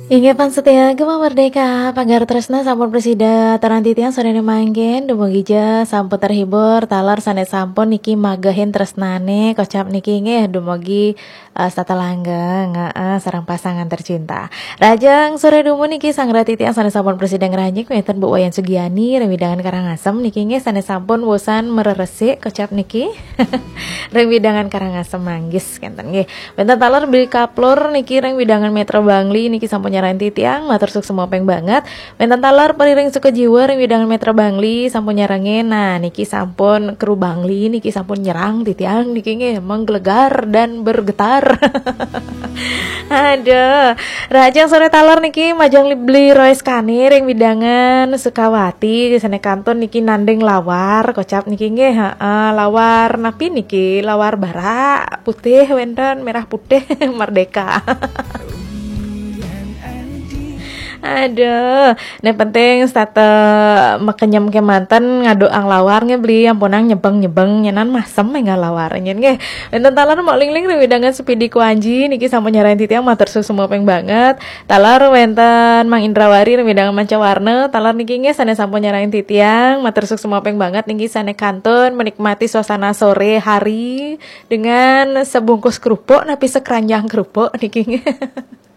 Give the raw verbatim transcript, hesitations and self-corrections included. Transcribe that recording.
Inggih pan setia Gema Merdeka, pagar tresna sampun prasida aturang titiang sorene mangkin, dumugi ja sampun terhibur, taler sane sampun niki magehin tresnane, kocap niki nggih dumugi, eh, setata langgeng, heeh, sareng pasangan tercinta. Rahajeng sore dumun niki sareng titiang sane sampun prasida ngranjing wenten Bu Wayan Sugiani ring wewidangan Karangasem niki nggih sane sampun wusan mareresik kocap niki. Ring wewidangan Karangasem Manggis kenten nggih. Wenten taler Beli Kaplur niki ring wewidangan Metra Bangli niki sampun nyarengin titiang, matur suksma ping banget. Wenten taler Pariring Sukajiwa ring wewidangan Metra Bangli sampun nyarengin. Nah, niki sampun kru Bangli niki sampun nyerang titiang niki nggih menggelegar dan bergetar. Aduh, rahajeng sore taler niki majeng li-, Beli Royce Kani ring wewidangan Sukawati sane kantun niki nanding lawar kocap niki nggih, heeh, lawar napi niki? Lawar barak, putih wenten, merah putih, merdeka. Aduh, ne penting setata makenyem kemanten ngaduang lawar nggih Beli, ampunang nyebeng-nyebeng nyenan masem enggak lawar nyen nggih. Wenten taler Mok Lingling ring wewidangan Sepidi Kuanji niki sampun nyarengin titiang, matur suksma ping banget. Taler wenten Mang Indrawari ring wewidangan Mancawarna, taler niki nggih sane sampun nyarengin titiang, matur suksma ping banget niki sane kantun menikmati suasana sore hari dengan sebungkus kerupuk napi sekeranjang kerupuk niki nggih.